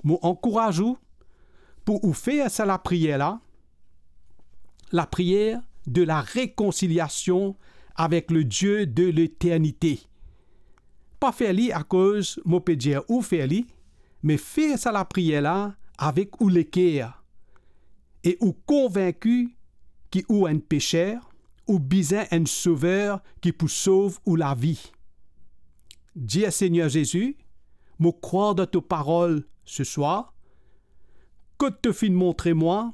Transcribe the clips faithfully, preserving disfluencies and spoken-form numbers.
Mo ankouraz ou pou ou fer sa lapriyer la, lapriyer de la rekonsiliasion avek le Die de leternite. Pa fer li akoz mo pe dir ou fer li, me fer sa lapriyer la avek ou leker, e ou konvinki ki ou enn peser, ou bizin enn Sover ki pou sov ou lavi. Dir, Segner Zezi, mo krwar dan to parol seswar, kot to finn montre mwa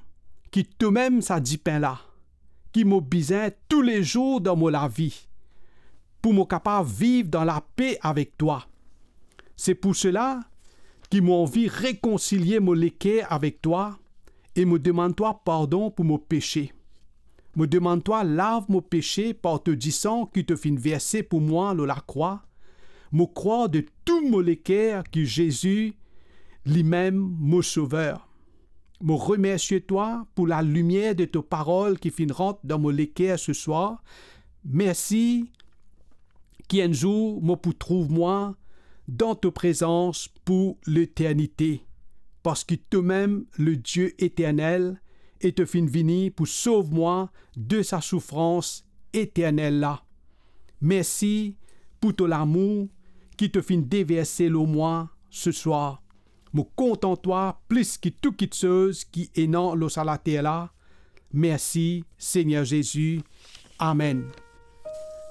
ki tomem sa dipin la, ki mo bizin toulezour dan mo lavi, pou mo kapav viv dan lape avek twa. Se pou sela ki mo anvi rekonsilie mo leker avek twa, e mo demann twa pardon pou mo pese. Mo demann twa lav mo pese par to disan ki to finn verse pou mwa lor lakrwa. Mo krwar de tou mo leker ki Zezi limem mo Sover. Mo remersie twa pou lalimier de to parol ki finn rant dan mo leker seswar. Mersi ki enn zour mo pou trouv mwa dan to prezans pou leternite, parski tomem le Die eternel, e to finn vini pou sov mwa de sa soufrans eternel la. Mersi pou to lamour ki to finn deverse lor mwa seswar. Mo kontan twa plis ki tou kiksoz ki ena lor sa later la. Mersi, Segner Zezi. Amen.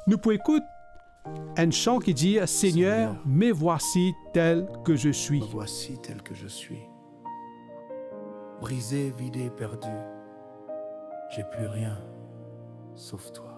Nou pou ekout enn san ki dir, Seigneur, Seigneur, me voici tel que je suis. Me voici tel que je suis. Brisé, vidé, perdu, j'ai plus rien sauf toi.